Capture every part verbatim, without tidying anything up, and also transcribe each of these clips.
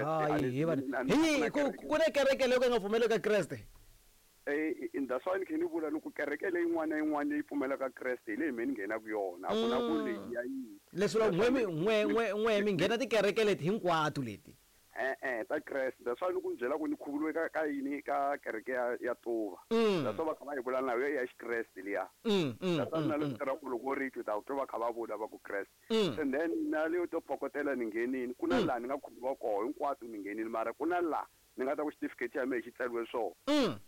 Kreste a Hayi ni hi vanhu a ni hi ku na ku kereke ku na kereke leyi ka nga pfumeleki ka Kreste. Eh, that's why ni khe ni vula ni ku kereke leyi yin'wana na yin'wana leyi pfumelaka Kreste hi leyi me ni nghenaka yona, a ku na ku leyi ya yini. Leswi vula That's n'we why mi ni n'we ni n'we n'we mi ni nghena tikereke leti hinkwato leti. E-e ta Kreste, that's why ni ku ni byela ku ni khuvuriwe ka ka yini, ka kereke ya ya Tuva. Mm. That's why va kha va yi vula na yo ya Xikreste liya. Mm, mm, That's why mm, na le mm. vito ra ku loko ri twi ta twa va kha va vula va ku Kreste. Mm. And then na leyo to phokotela ni nghenini, ku na Mm. laha ni nga khuvuriwa koho hinkwato ni nghenini, mara ku na laha ni nga ta ku xitifiketi xa mehe xi tsariwe swona. Mm.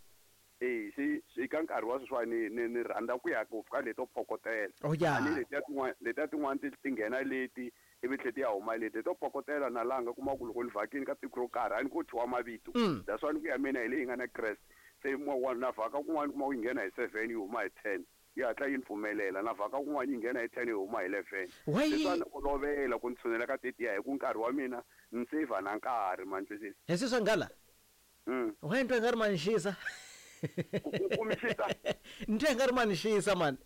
Eh, se se ka nkarhi wa sweswiwani ni ni ni rhandza ku ya ngopfu ka leto phokotela. Oh ya. A ni letiya tin'wana letiya tin'wana ti ti nghena leti ivi tlhe ti ya huma leti to phokotela na laha nga kuma ku loko ni vhakini ka tiko ro karhi a ni ko thyiwa mavito. Mm. That's why ni ku ya mina hi leyi nga na Kreste. Se wa na vhaka kun'wana kuma ku yi nghena hi seven yi huma hi ten, yi hatla yi ni pfumelela. Na vhaka kun'wana yi nghena hi ten yi huma hi eleven. Why? Se swa ni olovela ku ni tshunela ka tetiya hi ku nkarhi wa mina ni saver na nkarhi, ma ni twisisa. Hi swi swa nghala? Mm. Why ntwa nga ri manxisa? Ku ku mixisa? Ntwa nga ri manxisa man.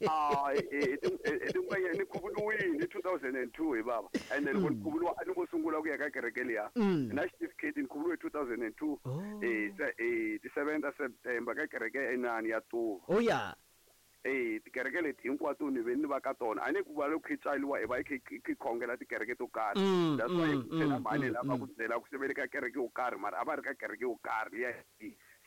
Ah, eh eh eh ni khuvuriwile hi two thousand and two hi baba. And then loko ni khuvuriwa a ni ngo sungula ku ya ka kereke liya. Mm. Na xitifiketi ni khuvuriwe hi two thousand and two. Oh. Eh se eh ti seven ta September ka kereke ya Inani ya Tuva. Oh ya. Eh tikereke leti hinkwato ni ve ni va ka tona. A ni ku va loko khi tswariwa hi va hi kha hi khongela tikereke to karhi. Mm, That's why mm, ku tlhela mm, mhani mm, lava mm. ku byela ku se ka kereke yo karhi, mara a va ri ka kereke yo karhi liya.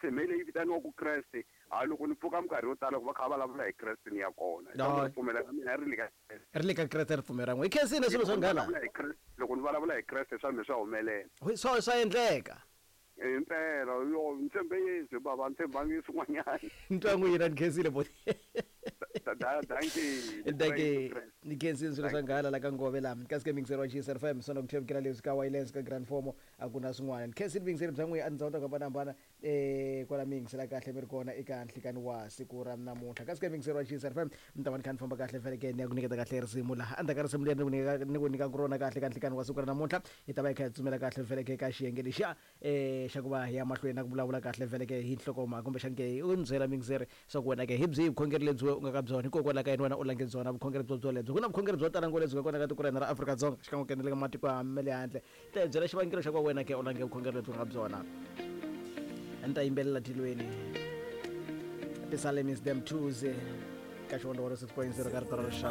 Se me leyi vitaniwaka Kreste, ha loko ni pfuka minkarhi yo tala ku va kha va vulavula hi Kreste ni ya kona. No. Hi ripfumelo ra mina ri le ka Kreste. Ri le ka Kreste ripfumelo ra n'wina. Hi khensile swilo swa Loko ni nghala. vulavula hi Kreste, loko ni vulavula hi Kreste swa mina swa humelela. Swa swa endleka. Impela yo ni tshembe Yesu baba, ni tshembangi swin'wanyana. Ntwa n'wina ni khensile boti. Dankie. Dankie. Ni khensile swilo swa nghala la ka Ngove la. Kasi ke mingiseri wa G S F M sona ku thembekela leswi ka wireless ka Grand Formo a ku na swin'wana. Ni khensile mingiseri bya n'wina a tindhawu to hambanahambana eh kwala mi yingisela kahle mi ri kona eka nhlikani wa siku ra namuntlha. Kasi ke mingiseri wa G S F M mi ta va ni kha ni famba kahle vhele ke ni ya ku nyiketa kahle risimu laha. Endzhaku ka risimu leri ni ku nyika ni ku nyikaka rona kahle ka nhlikani wa siku ra namuntlha hi ta va hi kha hi tsutsumela kahle vhele ke ka xiyenge lexiya eh xa ku va hi ya mahlweni na ku vulavula kahle vhele ke hi nhlokomhaka kumbexani ke u ni byela mingiseri swa ku wena ke hi byihi vukhongeri lebyi u nga ka byona, hikokwalaho ka yini wena u lange byona vukhongeri byo byolebyo. Ku na vukhongeri byo tala ngopfu lebyi nga kona ka tiko ra hina ra Afrika-Dzonga xikan'we ku endleka matiko ya ma le handle. Ta hi byela xivangelo xa ku va wena ke u lange vukhongeri lebyi nga byona. A ni ta yimbelela tilweni Psalms them twos ka xivondho wa six point zero ka rito ra rixaka.